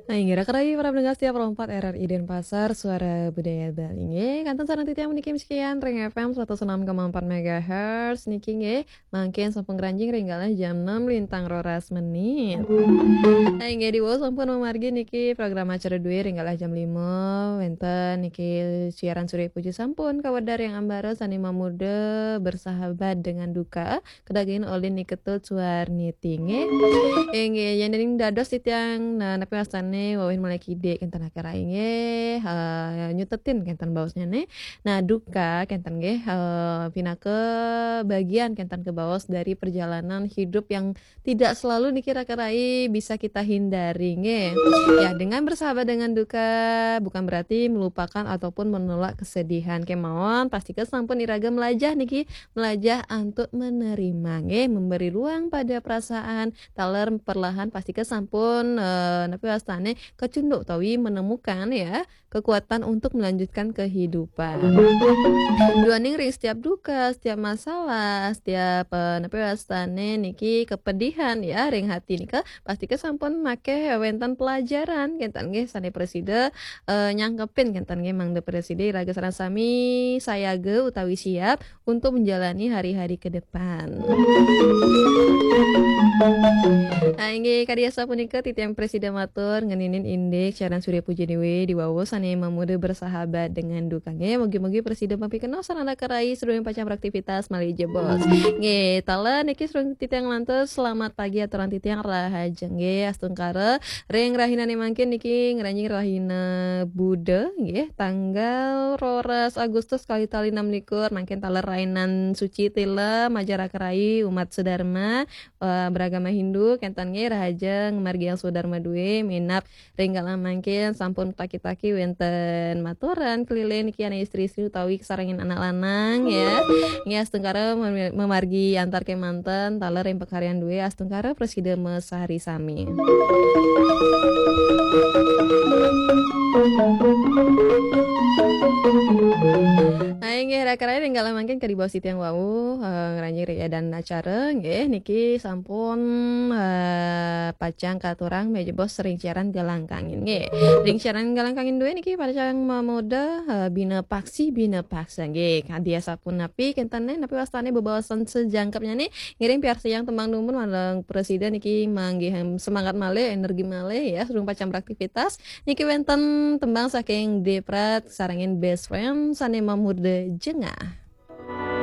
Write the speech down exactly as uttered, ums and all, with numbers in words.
Nah, inggih raka rayi para pendengar setia Pro empat R R I Denpasar, Suara Budaya Bali. Nggih, kantun sareng titiang puniki masikian ring F M seratus enam koma empat megahertz niki nggih. Mangkin sampun ngranjing ring galah jam enam lintang roras menit. Nah, inggih diwau sampun mamargi niki program acara duwe ring galah jam lima wenten niki siaran Surya Puji sampun kawedar ring ambara sane mamurda bersahabat dengan duka. Kedagingin olin nika Tut Suarniti nggih. Inggih, yen dening dados titiang, nah, napi wastane wawin mulai kidik kenten akhir inggih, eh, nyutetin kenten baosnyane. Nah, duka kenten nggih, eh, pinaka bagian kenten kebaos dari perjalanan hidup yang tidak selalu niki raka rayi bisa kita hindari nggih. Ya, dengan bersahabat dengan duka bukan berarti melupakan ataupun menolak kesedihan kemawon. Pastika sampun iraga melajah niki melajah antuk menerima nggih, memberi ruang pada perasaan, taler perlahan pastika sampun, eh, napi wastane kecunduk utawi menemukan ya, kekuatan untuk melanjutkan kehidupan. Duaning ring setiap duka, setiap masalah, setiap, eh, napi wastane niki kepedihan ya ring hati nika, pastika sampun makeh wenten pelajaran kenten nggih sane prasida, eh, nyangkepin kenten nggih mangda prasida iraga sareng sami sayaga utawi siap untuk menjalani hari-hari ke depan. Nah, inggih kadi asapunika titiang prasida matur ngeninin indik siaran Surya Puji Dewi diwawu sane mamurda bersahabat dengan duka nggih. Mugi-mugi prasida mapikenoh sareng raka rayi sadurung pacang beraktivitas malih jebos. Nggih, taler niki sareng titiang lantur selamat pagi aturang titiang rahaja nggih. Astungkara ring rahinane mangkin niki ngranjing rahina Buda nggih, tanggal roras Agustus kalih tali enam likur, mangkin taler rainan suci tila majeng raka rayi umat sedharma, eh, beragama Hindu kenten nggih, rahaja ngamargiang swadharma duwe minab ring galah mangkin sampun taki-taki wenten maturan keliling niki anak istri-istri utawi sarengin anak lanang ya. Nggih, astungkara mem-, memargi antar kemanten taler ring pakaryan duwe astungkara prasida mesari sami. Nah, inggih raka rayi ring galah mangkin kadi baos titiang wau, eh, ngranjing ring edan acara nggih niki sampun, eh, pacang katurang menawi jebos ring siaran galah kangin nggih. Ring siaran galah kangin duwe niki pacang mamurda, eh, bina paksi bina paksa nggih. Kadi asapunapi kenten napi wastane bebaosan sajangkepnyane ngiring piarsayang tembang dumun malih prasida niki manggih semangat malih, energi malih ya, sadurung pacang beraktivitas. Niki wenten tembang saking Deprat sarengin Best Friend sane mamurda Jengah.